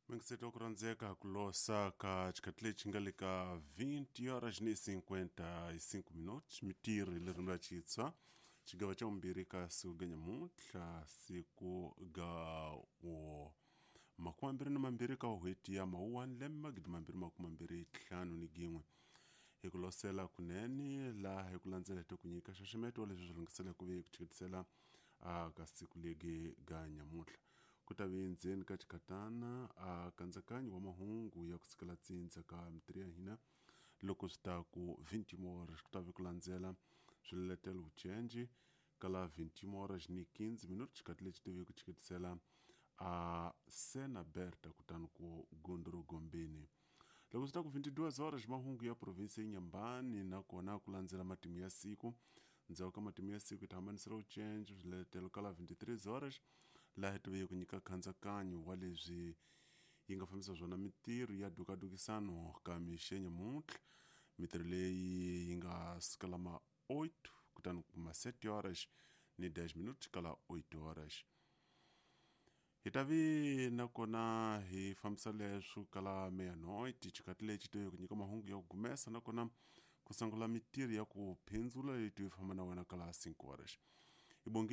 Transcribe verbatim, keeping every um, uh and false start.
Mingiseti ku rhandzeka ku losa ka xikhathi lexi nga le ka vinte horas ni cinquenta e cinco minutos mitirho hi ririmi ra Xitswa xigava xa vumbirhi ka siku ga nyamuntlha siku ga wo makume mambirhi na mambirhi ka n'hweti ya mawuwani lembe magidi mambirhi makume mambirhi ntlhanu ni gin'we hi ku losela kunene laha hi ku landzela hi ku nyika nxaxameto wa leswi swi lunghisela ku ve ku chiketisela a ka siku legi ga nyamuntlha ku ta ve ndzeni ka xikhatana a nkatsakanyo wa mahungu ya ku sukela tsindza ka mitirho ya hina loko swi ta ku vinte horas ku ta ve ku landzela swiletelo vucenji ka la vinte horas ni quinze minutos xikhathi lexi tive ku chiketisela a sena berta kutani ku gondoro gombeni loko swi ta ku vinte e duas horas mahungu ya provinsi ya Inhambane nakona ku landzela matimu ya siku ndzhaku ka matimu ya siku hi ta hambanisela vucenji swiletelo ka la vinte e três horas laha hi tive ku nyika nkatsakanyo wa leswi yi nga fambisa swona mitirho ya dukadukisano ka mixo nyamuntlha mitirho leyi yi nga sukela ma oito kutani kuma sete horas ni dez minutos ka la oito horas hi ta vi nakona hi fambisa leswo ka la meia-noite xikhathi lexi tive ku nyika mahungu ya ku gumesa nakona ku sungula mitirho ya ku phindzula leyi tive famba na wena ka la cinco horas hi bonge.